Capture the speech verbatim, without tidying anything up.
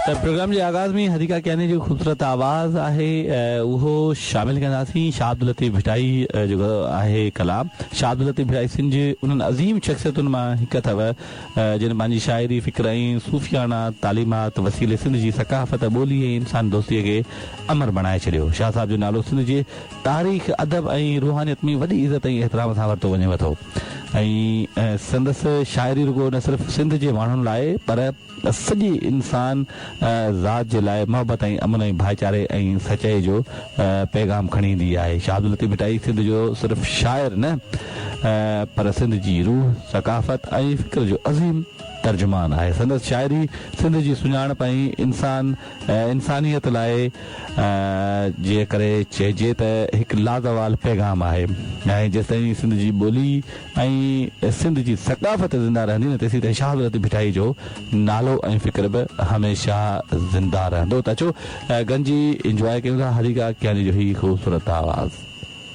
ته پروگرام جي آغاز ۾ حديقه ڪياني جو خوبصورت آواز آهي، اهو شامل ڪنداسين. شاهه عبداللطيف ڀٽائي جو آهي ڪلام. شاهه عبداللطيف ڀٽائي سنڌ جي انهن عظيم شخصيتن مان هڪ اٿو، جن پنهنجي شاعري، فڪر ۽ صوفيانه تعليمات وسيلي سنڌ جي ثقافت، ٻولي ۽ انسان دوستي کي امر بڻائي ڇڏيو. شاهه صاحب جو نالو سنڌ جي تاريخ، ادب ۽ روحانيت ۾ وڏي عزت ۽ احترام سان ورتو وڃي ٿو ۽ سندس شاعري رڳو نه صرف سنڌ جي ماڻهن لاء پر سڄي انسان ذات جي لاء محبت ۽ امن ۽ ڀائيچاري ۽ سچائي جو پيغام کڻي ايندي آهي. شاهه عبداللطيف ڀٽائي سنڌ جو صرف شاعر نه پر سنڌ جي روح، ثقافت ۽ فڪر جو عظيم ترجمان آهي. سندس شاعري سنڌ جي سڃاڻپ ۽ انسان انسانيت لاء جي ڪري چئجي ته هڪ لازوال پيغام آهي ۽ جيستائين سنڌ جي ٻولي ۽ سنڌ جي ثقافت زنده رهندي نه، تيسين تائين شاهه عبداللطيف ڀٽائي جو نالو ۽ فڪر به هميشه زنده رهندو. ته اچو گڏجي انجواء ڪيون ٿا حديقه ڪياني جو هي خوبصورت آواز.